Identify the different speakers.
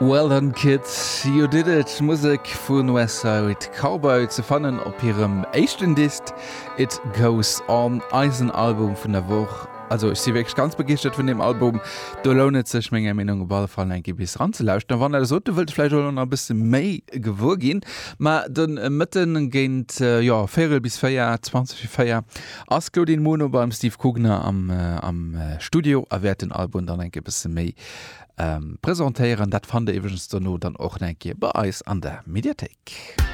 Speaker 1: Well done kids, you did it! Musek vu Westside Cowboy ze fannen op hirem éischten Disk It Goes On, eisen Album vun der Woch. Also ech si wierklech ganz begeeschtert vun deem Album. Do lount et sech menger Meenung op alle Fall eng Kéier bis eranzelauschteren. A wann der sot, der wëllt vläicht och elo nach e bësse méi gewuer ginn, ma de Mëtten géint, jo, véierel bis 4, 20 vir 4, ass d'Claudine Muno beim Steve Kugner am am Studio a wäert den Album dann eng Kéier e bësse méi presentéieren. Dat fannt der iwwregens dono dann och nach eng Kéier bei eis an der Mediathéik.